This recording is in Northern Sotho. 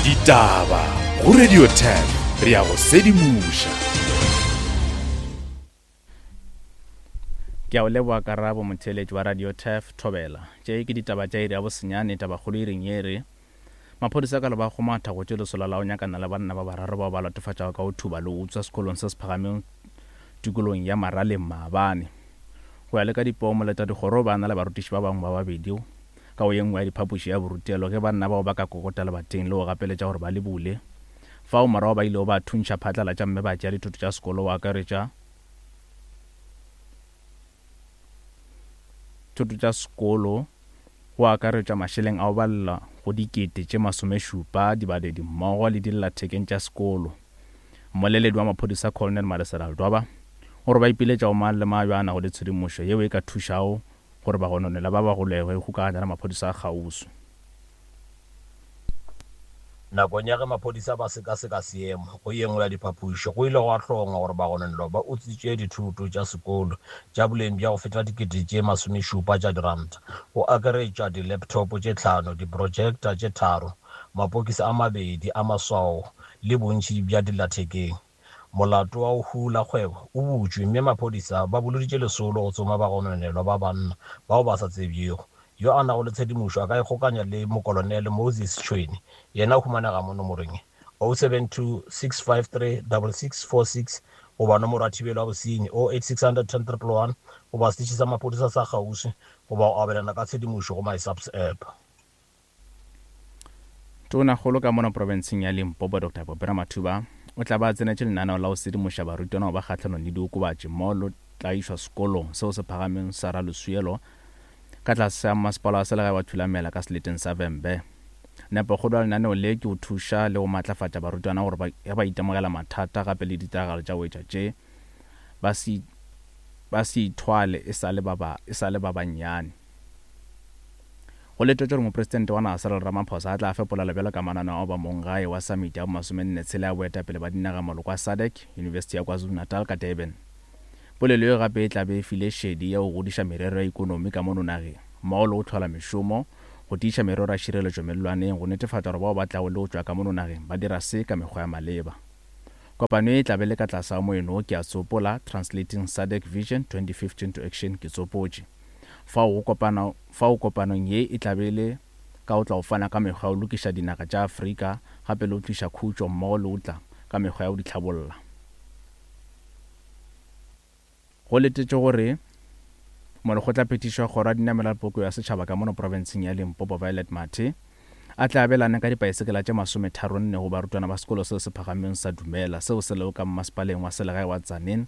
Ditaba go Radio 10 re a go sedimoša. Ke a o leboga Karabo motheeletši wa Radio Turf Thobela. Tše ke ditaba tša iri ya bosenyane, tabakgolo iring ye re, Maphodisa ka Lebakgomo a thakgotše lesolo la go nyakana le banna ba bararo bao ba latofatšago ka go thuba le go utswa sekolong se se phagameng tikolong ya Maraleng maabane. Go ya le ka dipeo, moletadikgoro o be a na le barutiši ba bangwe ba babedi ka go ye nngwe ya diphapoši ya borutelo ge banna bao ba ka kokota lebating le go gapeletša gore ba le bule. Fao morago ba ilego ba thuntšha phatlalatša mme ba tšea dithoto tša sekolo go akaretša thoto tša sekolo go akaretšwa mašeleng a go balela go dikete tše masomešupa, dibaledi mmogo le dillathekeng tša sekolo. Mmoleledi wa maphodisa Colonel Malesela Ledwaba o re ba ipiletša go mang le mang yo a nago le tshedimošo yeo e ka thušago gore bagononelwa ba ba golegwe go kgokaganya le maphodisa a kgauswi. Nakong ya ge maphodisa ba sekaseka seemo go ye nngwe ya diphapoši, go ile gwa hlongwa gore bagononelwa ba utswitše dithoto tša sekolo tša boleng bja go feta dikete tše masomešupa tša diranta, go akaretšwa di-laptop tše tlhano, di-projector tše tharo, mapokisi a mabedi a maswao le bontši bja dillathekeng. Molato wa go hula kgwebo o butšwe mme maphodisa ba boloditše lesolo go tsoma bagononelwa ba banna bao ba sa tsebjego. Yo a nago le tshedimošo a ka ikgokanya le Mokolonele Moses Tšhwene, yena o humanega mo nomorong ye, 072 653 6646 goba nomoro ya thibelo ya bosenyi, 08600 10 111 goba seteše sa maphodisa sa kgauswi goba go abelana ka tshedimošo go MySAPS app. Tonakgolo ka mono profenseng ya Limpopo Doctor Poppy Ramathuba o tla ba a tsenetše lenaneo la go sedimoša barutwana go ba kgahlanong le diokobatši mmogo le tla išwa sekolong seo se phagameng sa Raloswielo ka tlase ga mmasepala wa selegae wa Thulamela ka seleteng sa Vhembe. Nepokgolo ya lenaneo le ke go thuša le go matlafatša barutwana gore ba ge ba itemogela mathata gape le ditiragalo tša go etša tše ba se ba se ithwale e sa le ba ba e sa le ba bannyane. Go letetšwe gore Mopresidente wa naga Cyril Ramaphosa a tla fe polelo bjalo ka mananeo a go ba monggae wa Samiti ya bomasomenne-tshela ya boetapele ba dinagamoloko a SADC, Yunibesithi ya KwaZulu-Natal ka Durban. Polelo ye gape e tla be e file šedi ya go godiša merero ya ikonomi ka mono nageng, mmogo le go hlola mešomo, go tiiša merero ya šireletšo mellwaneng, go netefatša gore bao ba tlago le go tšwa ka mono nageng ba dira se ka mekgwa ya maleba. Kopano ye e tla be le ka tlase ga moeno wo ke a tsopola, Translating SADC Vision 2015 to Action Ke tsopotše. Fao go kopana, fao kopanong ye e tla be e le ka go tla go fana ka mekgwa ya go lokiša dinaga tša Afrika gape le go tliša khutšo mmogo le go tla ka mekgwa ya go di hlabolla. Go letetšwe gore Molekgotlaphethiši wa Kgoro ya Dinamelwa le Polokego ya Setšhaba ka mono profenseng ya Limpopo Violet Mathe a tle a abelane ka dipaesekela tše masometharonne go barutwana ba sekolo seo se phagameng sa Dumela seo se lego ka mmasepaleng wa selegae wa Tzaneen.